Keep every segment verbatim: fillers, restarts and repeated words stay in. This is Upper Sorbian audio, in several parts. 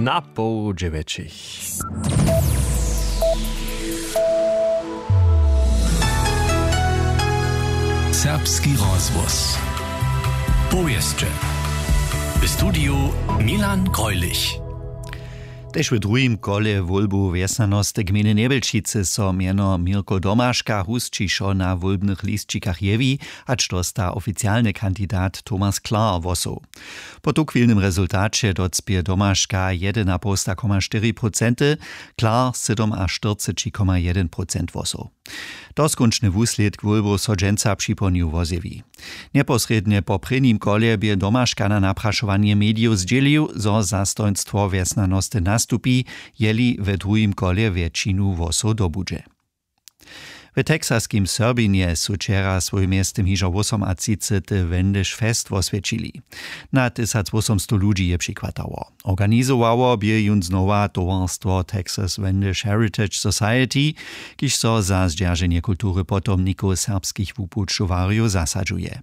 Na poł dźewjećich. Serbski rozhłos. Powěsće. W studiju Milan Greulich. Tež w druhim kole wólbow wjesnjanosty gmejny Njebjelčicy so mjeno Měrko Domaška husćišo na wólbnych lisćikach jewi, hač dosta oficialny kandidat Thomas Klar hłosow. Po tuchwilnym rezultaće docpě Domaška jedynapołsta koma štyri procenty, Klar sydomaštyrceći koma jedyn procent hłosow. Doskónčny wuslědk wólbow so dźensa připołdnju wozjewi. Njeposrědnje po prěnim kolje bě Domaška na naprašowanje medijow zdźělił, zo zastojnstwo wjesnjanosty nastupi, jeli we druhim kolje wjetšinu hłosow dobudźe. W texaskim Serbinje su wčera swójim mjeztym hižo wosomatřicety Wendish Fest woswjećili. Na tysacwósomstow ludźi je přichwatało. Organizowało bě jón znowa towarstwo Texas Wendish Heritage Society, kiž so za zdźerženje kultury potomnikow serbskich wupućowarjow zasadźuje.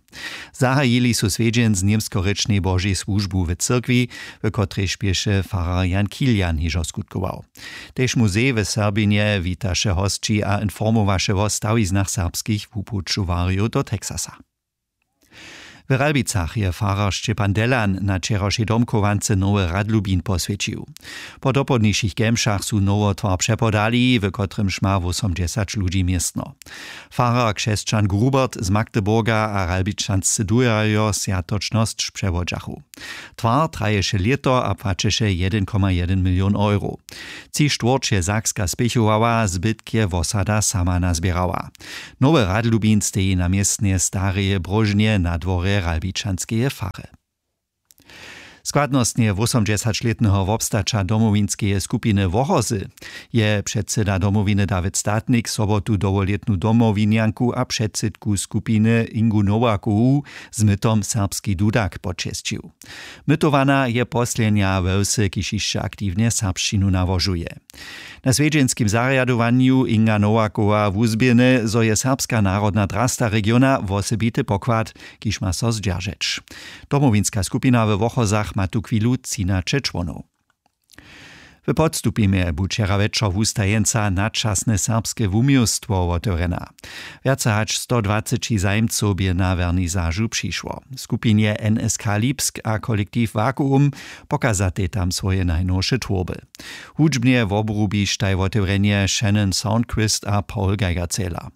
Zahajili su swjedźeń z němskorěčnej Božej słužbu w cyrkwi, w kotrejž běše farar Jan Kilian hižo skutkował. Tež muzej w Serbinje witaše hosći a informowaše wo stawiznach serbskich wupućowarjow do Texasa. W Ralbicach je farar Šćepan Delan na wčerawšej domchowance nowy radlubin poswjećił. Po dopołdnišich kemšach su nowotwar přepodali, w kotrymž ma wósomdźesać ludźi městno. Farar křesćan Grubert z Magdeburga a ralbičanscy dujerjo swjatočnosć přewodźachu. Twar traješe lěto a płaćeše jedyn koma jedyn milion euro. Tři štwórć je Sakska spěchowała, zbytk je wosada sama nazběrała. Nowy radlubin steji na městnje stareje bróžnje na dworje ralbičanskeje fary. Składnostnje wósomdźesaćlětneho wobstaća domowinskeje skupiny Wochozy je předsyda domowiny Dawid Statnik sobotu dołholětnu domowinjanku a předsydku skupiny Ingu Nowakowu z mytom Serbski dudak počesćił. Mytowana je poslednja we wsy, kiž hišće aktiwnje serbšćinu nałožuje. Na swjedźenskim zarjadowanju Inga Nowakowa wuzběhny, zo je serbska narodna drasta regiona wosebity pokład, kiž ma so zdźeržeć. Domowinska skupina we Wochozach ma tuchwilu třinaće čłonow. W Podstupimje bu wčera wječor wustajeńca Nadčasne serbske wuměłstwo wotewrjena. Wjace hač stodwaceći zajimcow bě na wernisažu přišło. W skupinje N S K Lipsk a kolektiv Vakuum pokazatej tam swoje najnowše twórby. Hudźbnje wobrubištaj wotewrjenje Shannon Soundquist a Paul Geigerzähler.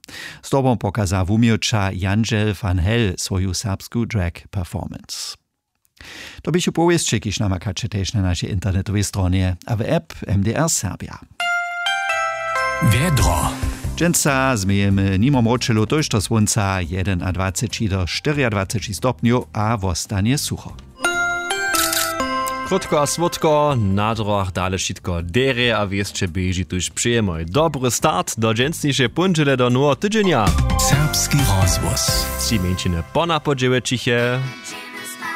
Zdobom pokaza wuměłča Jandźel van Hell swoju serbsku drag performance. To běchu powěsće, kiž namakaće tež na našej internetowej stronje a w app M D R Serbia. Wjedro. Dźensa změjemy nimo mróčelu tójšto słónca, jedynadwaceći do štyriadwaceći stopnjow a wostanje sucho. Krótko a słódko, na drogach dale wšitko derje a wěsće běži, tuž přejemy dobry start do dźensnišeje póndźele do noweho tydźenja. Serbski rozhłos. Tři mjeńšiny po na po dźewjećich je.